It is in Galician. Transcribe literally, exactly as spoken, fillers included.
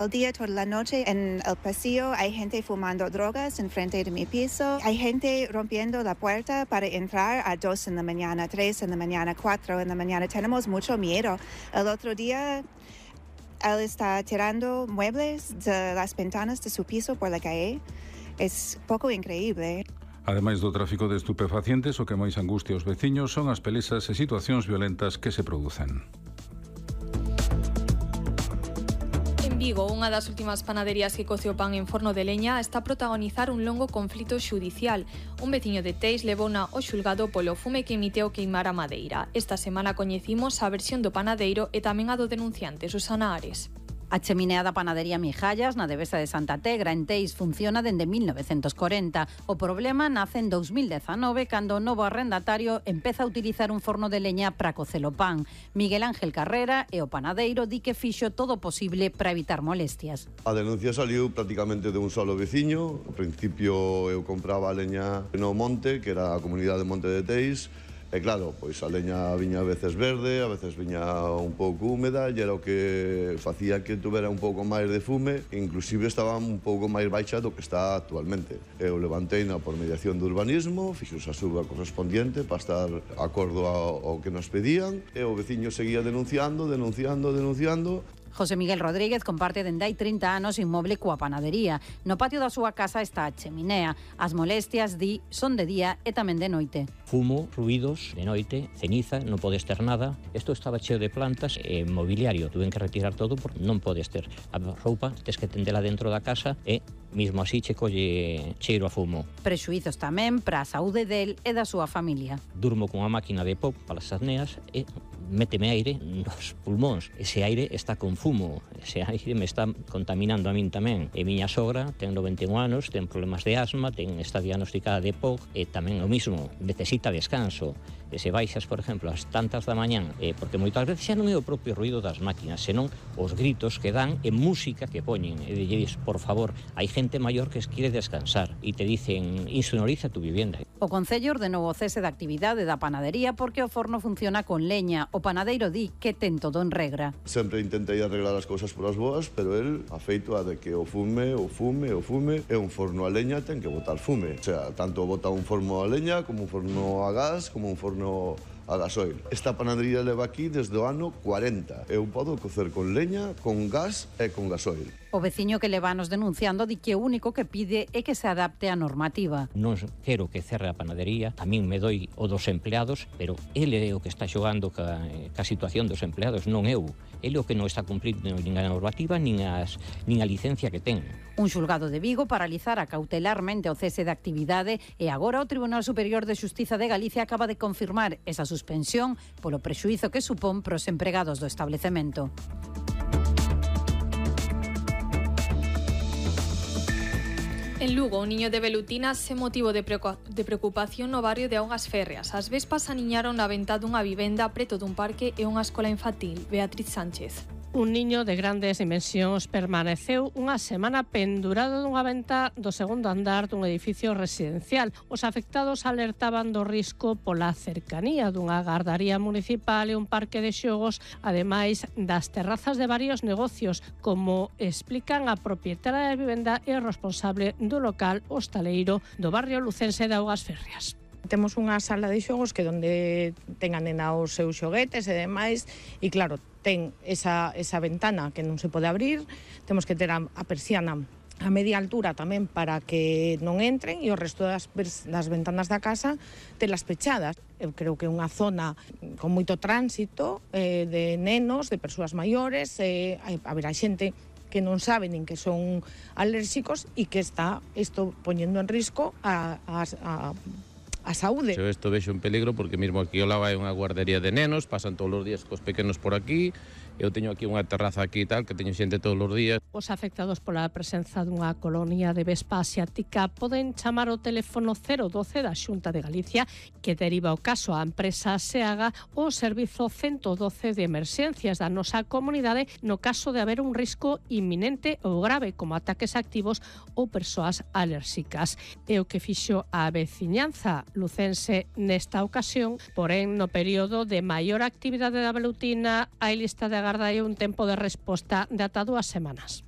El día, toda la noche, en el pasillo hay gente fumando drogas enfrente de mi piso. Hay gente rompiendo la puerta para entrar a dos en la mañana, tres en la mañana, cuatro en la mañana. Tenemos mucho miedo. El otro día, él está tirando muebles de las ventanas de su piso por la calle. Es poco increíble. Ademais do tráfico de estupefacientes, o que máis angustia aos veciños son as pelesas e situacións violentas que se producen. En Vigo, unha das últimas panaderías que coce o pan en forno de leña está a protagonizar un longo conflito xudicial. Un veciño de Teis levouna ao xulgado polo fume que emiteu queimar a madeira. Esta semana coñecimos a versión do panadeiro e tamén a do denunciante, Susana Ares. A cheminea da panadería Mijallas, na Devesa de Santa Tegra, en Teis, funciona dende mil novecentos corenta. O problema nace en dous mil dezanove, cando o novo arrendatario empeza a utilizar un forno de leña para cocer o pan. Miguel Ángel Carrera e o panadeiro di que fixo todo o posible para evitar molestias. A denuncia saliu prácticamente de un solo veciño. Ao principio eu compraba a leña no monte, que era a comunidade de Monte de Teis. E claro, pois a leña viña a veces verde, a veces viña un pouco húmeda, e era o que facía que tuvera un pouco máis de fume, inclusive estaba un pouco máis baixa do que está actualmente. Eu levanteina por mediación do urbanismo, fixos a suba correspondiente para estar acordo ao, ao que nos pedían, e o veciño seguía denunciando, denunciando, denunciando. José Miguel Rodríguez comparte dende hai trinta anos inmoble coa panadería. No patio da súa casa está a cheminea. As molestias, di, son de día e tamén de noite. Fumo, ruidos, de noite, ceniza, non podes ter nada. Isto estaba cheo de plantas e mobiliario. Tuven que retirar todo porque non podes ter a roupa, tes que tendela dentro da casa e mismo así che colle cheiro a fumo. Prexuizos tamén para a saúde del e da súa familia. Durmo con a máquina de pop para as apneas e méteme aire nos pulmóns. Ese aire está con fumo, ese aire me está contaminando a min tamén. E miña sogra ten noventa e un anos, ten problemas de asma, ten, está diagnosticada de P O C e tamén o mismo, necesita descanso. E se baixas, por exemplo, ás tantas da mañán, eh, porque moitas veces xa non é o propio ruido das máquinas, senón os gritos que dan e música que poñen. E dices, por favor, hai gente maior que quiere descansar e te dicen, insonoriza tu vivienda. O Concello ordenou o cese da actividade da panadería porque o forno funciona con leña. O panadeiro di que ten todo en regra. Sempre intentei arreglar as cousas por as boas, pero el afeito a de que o fume, o fume, o fume, e un forno a leña ten que botar fume. O sea, tanto bota un forno a leña como un forno a gas, como un forno a gasoil. Esta panadería leva aquí desde o ano cuarenta. Eu podo cocer con leña, con gas e con gasoil. O veciño que leva anos denunciando di que o único que pide é que se adapte á normativa. Non quero que cerre a panadería, a min me doi o dos empleados, pero ele é o que está xogando ca, ca situación dos empleados, non eu. Ele é o que non está cumprindo nin a normativa, nin, as, nin a licencia que ten. Un xulgado de Vigo paralizara cautelarmente o cese de actividade e agora o Tribunal Superior de Xustiza de Galicia acaba de confirmar esa suspensión polo prexuízo que supón pros empregados do establecemento. En Lugo, un niño de Velutina se motivo de preocupación no barrio de Augas Férreas. As vespas aniñaron na ventá dunha vivenda preto dun parque e unha escola infantil. Beatriz Sánchez. Un niño de grandes dimensións permaneceu unha semana pendurado dunha ventá do segundo andar dun edificio residencial. Os afectados alertaban do risco pola cercanía dunha gardaría municipal e un parque de xogos, ademais das terrazas de varios negocios, como explican a propietaria da vivenda e o responsable do local hostaleiro do barrio lucense de Augas Férreas. Temos unha sala de xogos que donde ten a nena os seus xoguetes e demais, e claro, ten esa, esa ventana que non se pode abrir, temos que ter a, a persiana a media altura tamén para que non entren, e o resto das, das ventanas da casa telas pechadas. Eu creo que é unha zona con moito tránsito eh, de nenos, de persoas maiores, eh, haberá xente que non sabe nin que son alérxicos e que está isto poñendo en risco a, a, a a saúde. Eu isto vexo en peligro porque mesmo aquí ao lado hai unha guardería de nenos, pasan todos os días cos pequenos por aquí. Eu teño aquí unha terraza aquí e tal, que teño xente todos os días. Os afectados pola presenza dunha colonia de vespa asiática poden chamar o teléfono cero doce da Xunta de Galicia, que deriva o caso á empresa SEAGA, ou o servizo ciento doce de emerxencias da nosa comunidade no caso de haber un risco inminente ou grave, como ataques activos ou persoas alérxicas. É o que fixo a veciñanza lucense nesta ocasión, porén no período de maior actividade da velutina hai lista de agarda e un tempo de resposta de ata dúas semanas.